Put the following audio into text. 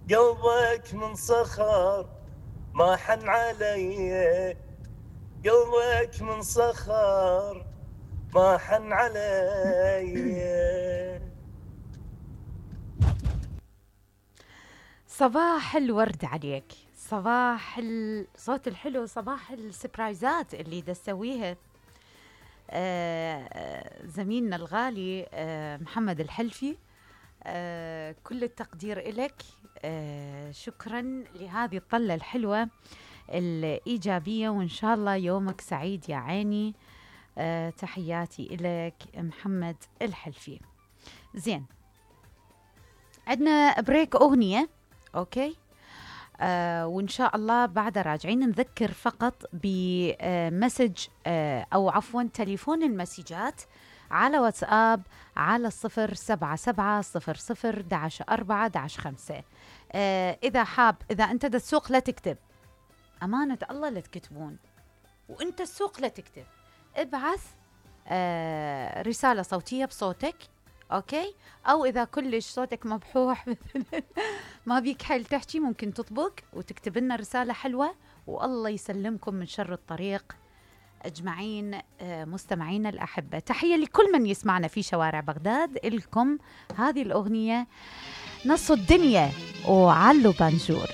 قلبك من صخر ما حن علي، قلبك من صخر ما حن علي. صباح الورد عليك، صباح الصوت الحلو، صباح السبرايزات اللي دا تسويها زميلنا الغالي محمد الحلفي. كل التقدير إلك. شكرا لهذه الطلة الحلوة الإيجابية، وإن شاء الله يومك سعيد يا عيني. تحياتي إلك محمد الحلفي. زين، عندنا بريك أغنية، أوكي. وإن شاء الله بعد راجعين نذكر فقط بمسج أو عفوا تليفون المسجات على واتساب على 077001145. إذا حاب، إذا أنت دا السوق لا تكتب، أمانة الله لا تكتبون، وأنت السوق لا تكتب، ابعث رسالة صوتية بصوتك، أوكي. أو إذا كلش صوتك مبحوح ما بيك حيل تحكي، ممكن تطبق وتكتب لنا رسالة حلوة، والله يسلمكم من شر الطريق أجمعين. مستمعين الأحبة، تحية لكل من يسمعنا في شوارع بغداد. إلكم هذه الأغنية نص الدنيا وعلو بانجور.